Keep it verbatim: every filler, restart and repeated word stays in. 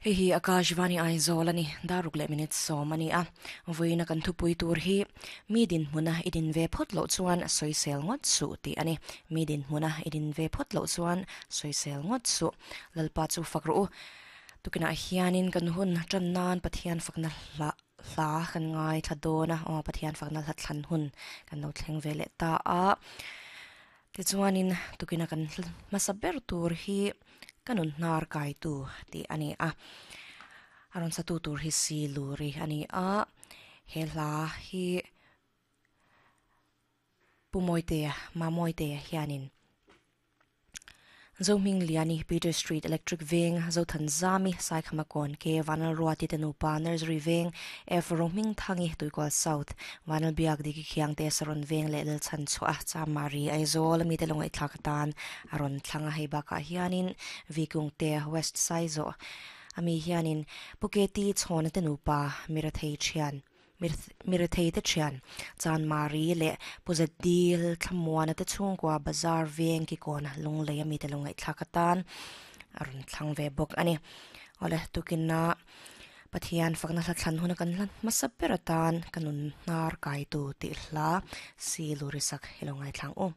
Hei hi Akashvani Aizawl a ni, daruk leh minute sawm a ni a. Vawiina kan thupui tur hi mi dinhmuna i din ve phawt loh chuan sawisel ngawt suh tih a ni. Mi dinhmuna i din ve phawt loh chuan sawisel ngawt suh. Lalpa chu fak rawh u. Tukinah hianin kan hun tan nan Pathian fakna hla hla kan ngai thla dawn a, aw Pathian fakna hla thlan hun kan lo thleng ve leh ta a. Tichuanin tukina kan hmasa ber tur hi ka nun hnar kai tu tih a ni a. A rawn satu tur hi si luri a ni a. He hla hi Pu Mawitea, Ma Mawitea hianin Zohming Liani, Peter Street, Electric Veng, Zothanzami, Saikhamakawn, K Vanlalruati te nupa, Nursery Veng, F Rohming Thangi, Tuikual South, Vanlalbiak Diki Khiangte, Saron Veng leh Lalchhan chhuah a, Chamari, Aizawl ami te lawngaih thlak atan a rawn thlang a, hei bakah hianin Vikungte, West Saizawh ami hianin Puketi Chhawna te nupa, Mirathei thian. Mirethei te thian Chanmari leh Pu Zadil Thlamuana te chhungkua Bazar veng kikawn lunglei ami te lo ngaihthlak atan a rawn thlang ve bawk a ni. Awle tukina Pathian fakna hla thlan huna kan hla hmasa ber atan ka nun hnar kaitu tih hla si lurisak hi lo ngaithlang u.